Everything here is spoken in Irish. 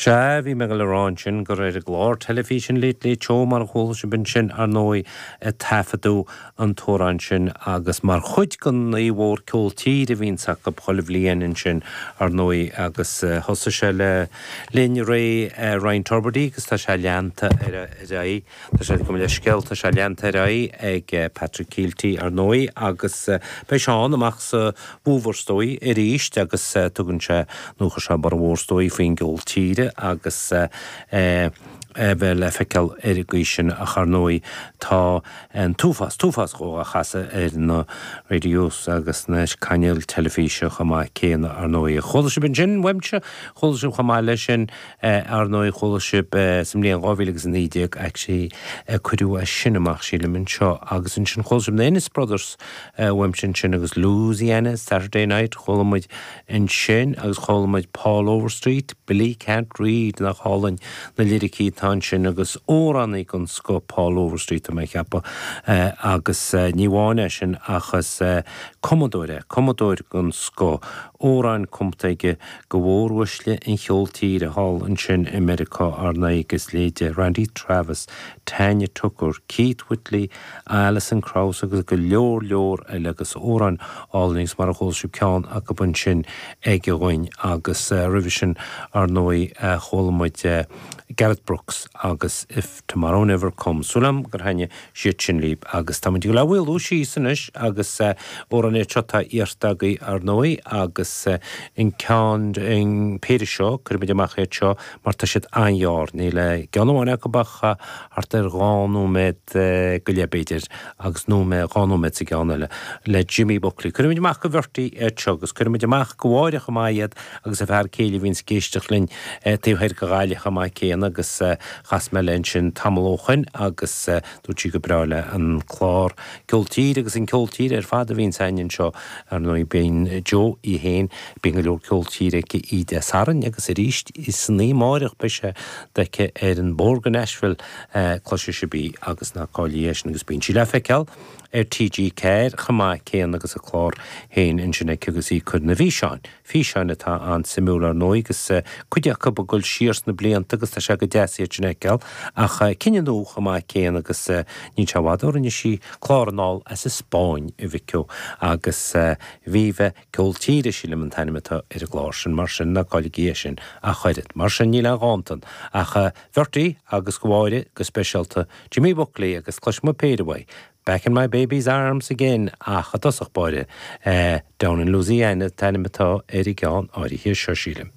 Sea, bhí mé ag dul a rá ansin gur ar an gclár teilifíse an Late Late Show, mar a chuala sibh ansin, ar ndóigh, a taifeadadh an t-amhrán sin agus mar chuid den oíche mhór ceol tíre a bhíonns acu chuile bhliain ansin, ar ndóigh, agus thosaigh sé le linn ré Ryan Tubridy agus tá sé leanta ar aghaidh. Tá sé, gabh mo leithscéal, tá sé leanta ar aghaidh ag Patrick Kielty, ar ndóigh, agus beidh sé ann amach sa bhfómhar, is dóigh, arís agus tugann sé, nó chuir sé borradh mhór, is dóigh, faoin gceol tíre agus é a bheith le feiceáil ar an gcaoi sin ach, ar ndóigh, tá an t-uafás, t-uafás dhó á chasadh ar na radios agus na cainéil teilifíse chomh maith céanna, ar ndóigh. Chuala sibh ansin uaimse, chuala sibh chomh maith leis sin, Ar ndóigh, chuala sibh sa mbliain 2019, actually, cuireadh é sin amach, sílim, anseo. Agus ansin chuala sibh na Ennis Brothers uaimse ansin agus Louisiana Saturday Night, chuala muid ansin agus chuala muid Paul Overstreet, Billy Can't Read, nach álainn na liricí atá ansin agus amhránaí den scoth Paul Overstreet, tá mé ag ceapadh. Agus ní amháin é sin ach is cumadóir é, cumadóir den scoth, amhráin cumtha aige go mhóruaisle an cheoil tíre thall ansin i Meiriceá, ar ndóigh, agus leithéidí Randy Travis, Tanya Tucker, Keith Whitley, Alison Krauss agus go leor leor eile agus amhráin álainn agus mar a chuala sibh ceann acu ansin aige dhúinn agus roimhe sin ar ndóigh chuala muid Garth Brooks agus If Tomorrow Never Comes. Súil agam gur thaitnigh siad sin libh agus tá muid ag dul a mhaolú síos anois agus amhrán é seo atá iarrta agaibh ar ndóigh agus an ceann, an péire seo, cuirfimid amach iad seo mar tá siad an-ghearr, níl i gceann amháin acu ach thart ar dhá nóiméad go leith b'fhéidir agus nóiméad, dhá nóiméad sa gceann eile le Jimmy Buckley. Cuirfimid amach go Bhertie iad seo agus cuirfimid amach go Mháire chomh maith iad agus a fear céile a bhíonns ag éisteacht linn taobh thoir de Ghaillimh chomh maith céanna agus chas mé léi ansin tamall ó shoin agus dúirt sí gur breá léi an clár Ceol Tíre agus an ceol tíre ar fad a bhíonns againn anseo. Ar ndóigh bíonn Joe í féin, bíonn go leor ceol tíre aici oíche Dé Sathairn agus arís san oíche amáireach beidh sé aici ar an bhóthar go Nashville, cloisfidh sibh í agus ná cailligí é sin agus bíonn sí le feiceáil ar TG4 chomh maith céanna agus a clár féin ansin aici agus í ag cur na bhfíseáin Físeáin atá an-suimiúil ar ndóigh agus cuid acu ag dul siar sna blianta agus tá sé go deas iad sin a fheiceáil ach cinn nua chomh maith céanna agus níl sé i bhfad ó rinne sí clár anall as an Spáinn a mhic ó agus Viva Ceol Tíre sílim an t-ainm atá ar an gclár sin mar sin ná cailligí é sin ach oiread. Mar sin níl aon dhántan ach Bhertie agus go Mháire go speisialta Jimmy Buckley agus cloisfidh muid péire uaidh Back in my baby's arms again ach i dtosach báire, Down in Louisiana an t-ainm atá ar an gceann áirithe seo, sílim.